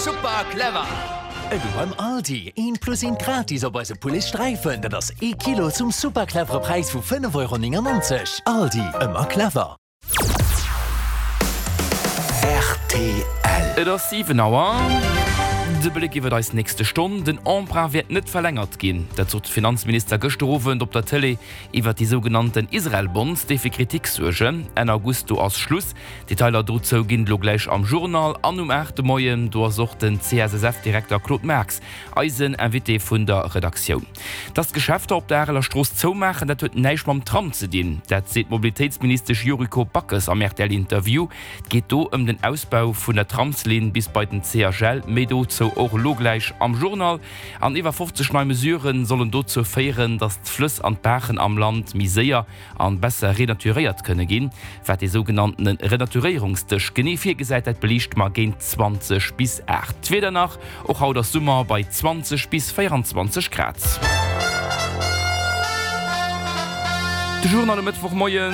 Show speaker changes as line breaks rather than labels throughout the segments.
Super clever! Elo beim Aldi, eent plus eent gratis op eise Poulet Sträifen, dat ass ee Kilo zum super clevere Präis vu 5,99 Euro. Aldi, ëmmer clever!
Rtl. Et ass 7 Auer. De Bléck iwwer eis nächste Stonn, Den Emprunt wäert net verlängert ginn. Dat sot de Finanzminister gëschter Owend op der Tëlee iwwer déi sougenannten Israel-Bonds, déi fir Kritik suergen. Enn August, do ass Schluss. Detailer dozou ginn et elo gläich am Journal an um 8 de Moien. Do ass och den CSSF-Direkter Claude Marx eisen Invité vun der Redaktioun. Dass d'Geschäfter op der Areler Strooss zoumaachen, dat huet näischt mam Tram ze dinn. Dat seet d'Mobilitéitsministesch Yuriko Backes am RTL-Interview. Et geet do ëm den Ausbau vun der Tramslinn bis bei den CHL. Méi dozou och elo gläich am Journal. An iwwer 50 nei Mesurë sollen dozou féieren, dass d'Flëss an d'Baachen am Land méi séier an besser renaturéiert kënne ginn. Wat dee sougenanntene Renaturéierungsdësch genee virgesäit, dat beliichte mer géint 20 bis 8. D'Wieder nach, Och haut ass Summer bei 20 bis 24 Grad. De Journal um Mëttwochmoie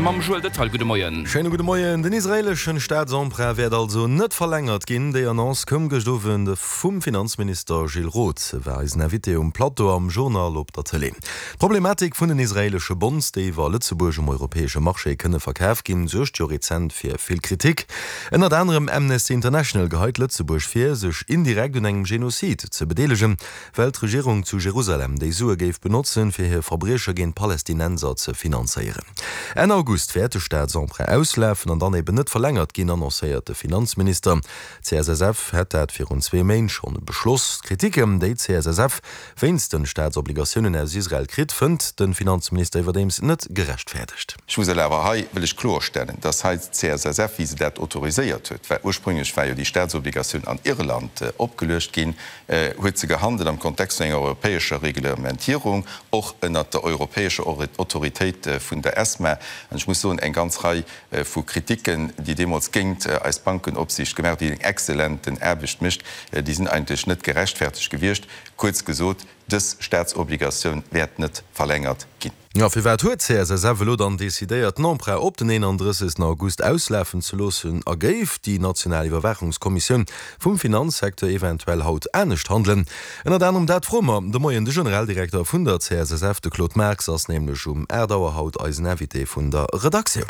mam Joël Detaille. Gudde Moien.
Schéine gudde Moien. Den israeeleschen Staatsemprunt wäert also net verlängert ginn. Déi Annonce koum gëscht Owend vum Finanzminister Gilles Roth. E war eisen Invité um Plateau am Journal op der Tëlee. D'Problematik vun den israeelesche Bonds, déi iwwer Lëtzebuerg um europäesche Marché kënne verkaf ginn, suergt jo rezent fir vill Kritik. Ënnert anerem Amnesty International geheit Lëtzebuerg vir, sech indirekt un engem Genozid ze bedeelegen, well d'Regierung zu Jerusalem déi Sue géif benotzen, fir hir Verbrieche géint Palästinenser ze finanzéieren. Enn August wäert de Staatsemprunt auslafen an dann eben net verlängert ginn, annoncéiert de Finanzminister. D'CSSF hätt dat virun zwee Méint schonn beschloss. D'Kritiken, déi d'CSSF wéinst den Staatsobligatiounen aus Israel kritt, fënnt de Finanzminister iwwerdeems net gerechtfäerdegt.
Ech muss awer hei wëll ech kloerstellen, dass hei d'CSSF, wéi se dat autoriséiert huet, well ursprünglech war jo déi Staatsobligatioun an Irland opgeluecht ginn, huet se gehandelt am Kontext vun enger europäescher Reglementierung, och ënnert der europäescher Autoritéit vun der ESMA. An ech muss soen, eng ganz Rei vu Kritiken, déi deemools géint eis Bankenopsiicht gemaach, déi eng exzellenten Aarbecht mécht, déi sinn eigentlech net gerechtfertegt gewiescht. Kuerz gesot, dës Staatsobligatioun wäert net verlängert ginn.
Jo, firwat huet d'CSSF elo dann decidéiert, den Emprunt op den 31. August auslafen ze loossen a géif déi national Iwwerwaachungskommissioun vum Finanzsecteur eventuell haut anescht handelen? Ënnert anerem dat froe mer de Moien de Generaldirekter vun der CSSF, de Claude Marx ass nämlech um 8 Auer haut eisen Invité vun der Redaktioun.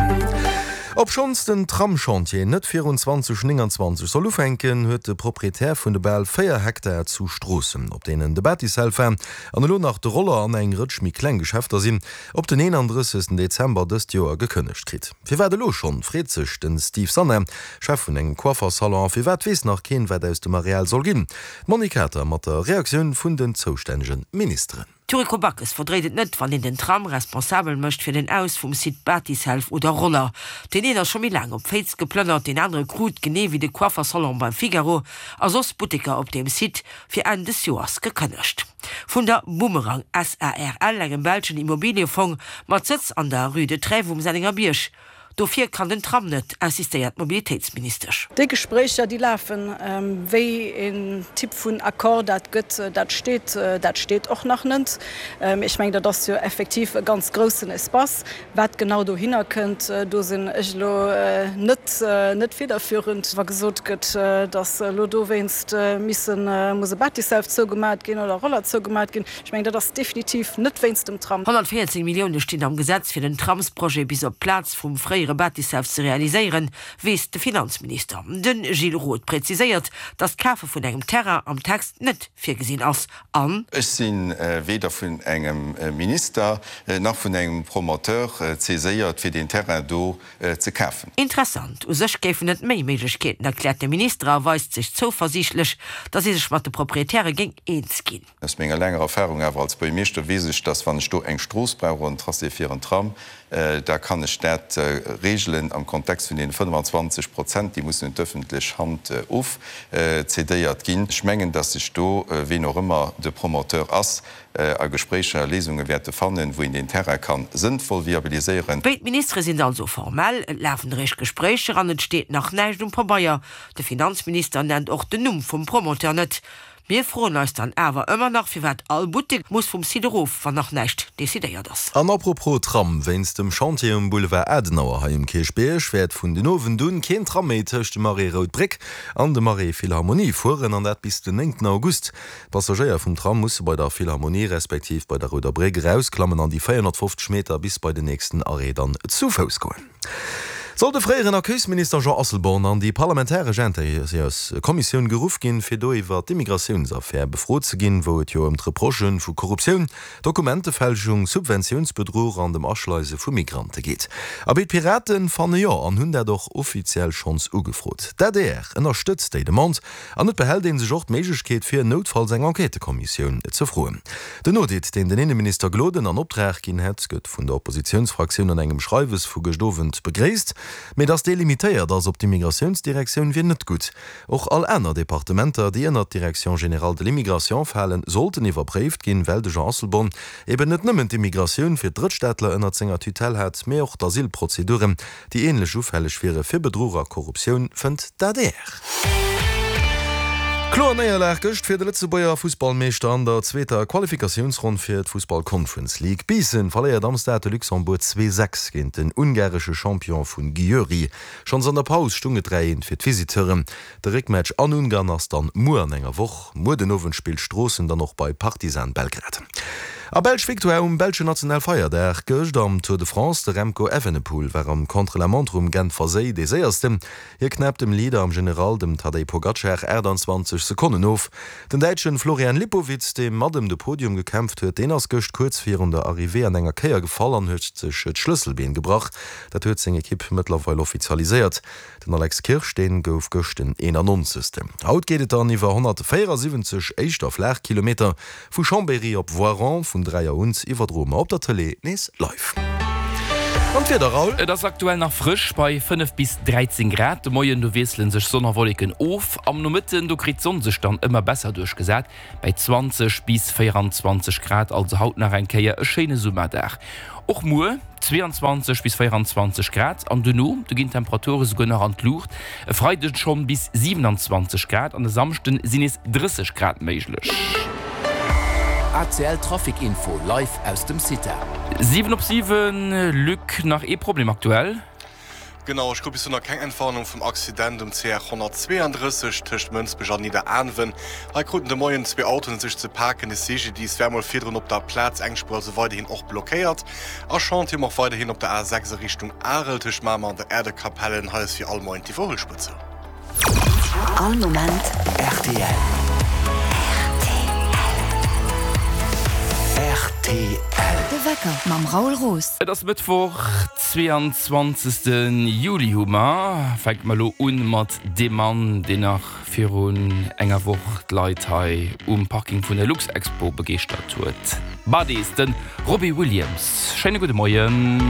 Obschonns den Tramschantier net virun 2029 soll ufänken, huet de Proprietär vun de bal 4 Hektar zu Stroossen, op deenen de Batiself war an elo nach de Roller an eng Rëtsch méi kleng Geschäfter sinn, op den 31. Dezember dëst Joer gekënnegt kritt. Firwat elo schonn, freet sech de Steve Sanna, Chef vun engem Coiffersalon. A firwat weess nach keen, wat aus dem Areal soll ginn? D'Monique Kater mat der Reaktioun vun den zoustännege Ministeren.
D'Yuriko Backes verdréit et net, wann een den Tram responsabel mécht fir den Aus vum Site Batiself oder Roller. Deen een ass scho méi laang op Féiz geplënnert, deen anere krut, genee wéi de Coiffersalon beim Figaro a soss Butteker op deem Site, fir Enn des Joers gekënnegt. Vun der Boomerang SARL, engem belschen Immobiliefong mat Sëtz an der Rue de Trèves um Sennengerbierg. Dofir kann den Tram net, insistéiert d'Mobilitéitsministesch.
Déi Gespréicher, déi lafen. Wéi een Typ vun Accord dat gëtt, dat steet, dat steet och nach net. Ech mengen, dat ass jo effektiv e ganz groussen Espace. Wat genau dohinner kënnt, do sinn ech elo net, net federführend. Wa gesot gëtt, datt elo dowéinst missen, muss e Batiself zougemat ginn oder Roller zougemat ginn, Ech mengen, dat ass definitiv net wéinst dem Tram.
114 Millioune stinn am Gesetz fir den Tramsprojet bis op d'Plaz vum fréiere Bâtisshaus ze realiséieren, weess de Finanzminister. De Gilles Roth präziséiert, datt d'Kafe vun engem Terrain am Text net virgesinn ass an.
Ech si weder vun engem Minister nach vun engem Promoteur saiséiert, fir deen Terrain do ze kafen.
Interessant, u sech géifen et méi Méiglechkeeten, erkläert de Minister a weist sech zouversiichtlech, datt ee sech mat de Proprietäre géing eens ginn.
Aus menger laanger Erfahrung awer als Buergermeeschter weess ech, dass wann ech do eng Strooss brauch oder en Tracé fir en Tram, da kann ech dat regelen am Kontext vun deene 25 Prozent, déi mussen un d'öffentlech Hand ofcédéiert ginn. Ech mengen, dass sech do, ween och ëmmer de Promoteur ass, a Gespréicher Léisunge wäerte fannen, wou een deen Terrain ka sënnvoll viabiliséieren.
Béid Ministere sinn also formell, et lafen eréischt Gespréicher an et steet nach näischt um Pabeier. De Finanzminister nennt och den Numm vum Promoteur net. Mir froen eis dann awer ëmmer nach, firwat all Buttek muss vum Site erof, wann nach näischt decidéiert ass.
An apropos Tram, Wéinst dem Chantier um Boulevard Adenauer hei um Kierchbierg wäert vun den Owend un keen Tram méi tëscht dem Arrêt Rout Bréck an dem Arrêt Philharmonie fueren, an dat bis den 9 August. D'Passagéier vum Tram musse bei der Philharmonie respektiv bei der Rouder Bréck erausklammen an déi 450 Meter bis bei den nächsten Arrêt dann zu Fouss goen. Soll de fréieren Accueilsminister Jean Asselborn an déi parlamentaresch Intérieurskommissioun geruff ginn, fir do iwwer d'Immigratiounsaffär befrot ze ginn, wou et jo ëm d'Reprochë vu Korruptioun, Dokumentefälschung, Subventiounsbedruch an dem Aschleise vu Migrante geet? Abee, d'Pirate fanne jo an hunn dat och offiziell schonns ugefrot. D'adr ënnerstëtzt déi Demande An et behält ee sech och d'Méiglechkeet fir noutfalls eng Enquêtëkommissioun ze froen. Den Audit, deen den Inneminister Gloden an Optrag ginn hätt, gëtt vun der Oppositiounsfraktioun an engem Schreiwes vu gëscht Owend begréisst. Mee datt dee limitéiert ass op d'Immigratiounsdirektioun, wier net gutt. Och all aner Departementer, déi ënnert d'Direction générale de l'immigration falen, sollten iwwerpréift ginn, well de Jean Asselborn eben net nëmmen d'Immigratioun fir d'Drëttstaatler ënnert senger Tutelle hat, mee och d'Asylprozeduren. déi ähnlech ufälleg wiere fir Bedruch a Korruptioun, fënnt d'ADR. Kloer Néierlag gëscht fir de Lëtzebuerger Fussballmeeschter an der zweeter Qualifikatiounsronn fir d'Fussball Conference League. Biissen verléiert am Stade de Luxembourg 2, 6 géint den ungaresche Champion vun Győri. Schonns an der Paus stung et 3, 1 fir d'Visiteuren. De Réckmatch an Ungarn ass dann muer an enger Woch. Muer den Owend spillt Stroossen dann och bei Partizan Belgrad. A Belsch Victoire um belsche Nationalfeierdag gëscht am Tour de France. De Remco Evenepoel war am Contre-la-montre um Genfer Séi dee séiersten. Hie knäppt dem Leader am General, dem Tadej Pogacar, 28 Sekonnen of. Den Däitschen Florian Lipowitz, dee mat ëm de Podium gekämpft huet, deen ass gëscht kuerz virun der Arrivée an enger Kéier gefall an huet sech d'Schlësselbeen gebrach. Dat huet seng Ekipp mëttlerweil offizialiséiert. Den Alex Kirsch, deen gouf gëscht den 91. Haut geet et dann iwwer 174 éischter flaach Kilometer vu Chambéry op Voiron. Vun 3 Auer un iwwerdroe mer op der Tëlee nees live. An d'Wieder, Raoul?
Et ass aktuell nach frësch bei 5 bis 13 Grad. De Moien do wiessele sech Sonn a Wolleken of. Am Nomëtten do kritt d'Sonn sech dann ëmmer besser duerchgesat bei 20 bis 24 Grad. Also haut nach eng Kéier e schéine Summerdag. Och muer 22 bis 24 Grad an dono, do ginn d'Temperature souguer nach an d'Luucht, e Freideg schonn bis 27 Grad an e Samschden sinn nees 30 Grad méiglech.
ACL Trafic Info live aus dem CITA.
7 op 7, Luc, nach ee Problem aktuell.
Genau, ech krut bis elo nach keng Entwarnung vum Accident um CR 132 tëscht Mënsbech an Nidderaanwen. Hei kruten de Moien zwee Autoen et sech ze paken. De CGDIS war mol virdrun op der Plaz, eng Spuer also weiderhin och blockéiert. A Chantier um och weiderhin op der A6 a Richtung Arel tëscht Mamer an der Äerdekapellen. Hei ass wéi all Moien d'Iwwerhuelspuer zou.
All Moment
rtl. Rtl.
De Wecker mam Raoul Roos.
Et ass Mëttwoch, 22. Juli hu mer. Fänke mer elo un mat deem Mann, deen nach virun enger Woch d'Leit hei um Parking vun der Luxexpo begeeschtert huet. Buddies, de Robbie Williams. Schéine gudde Moien.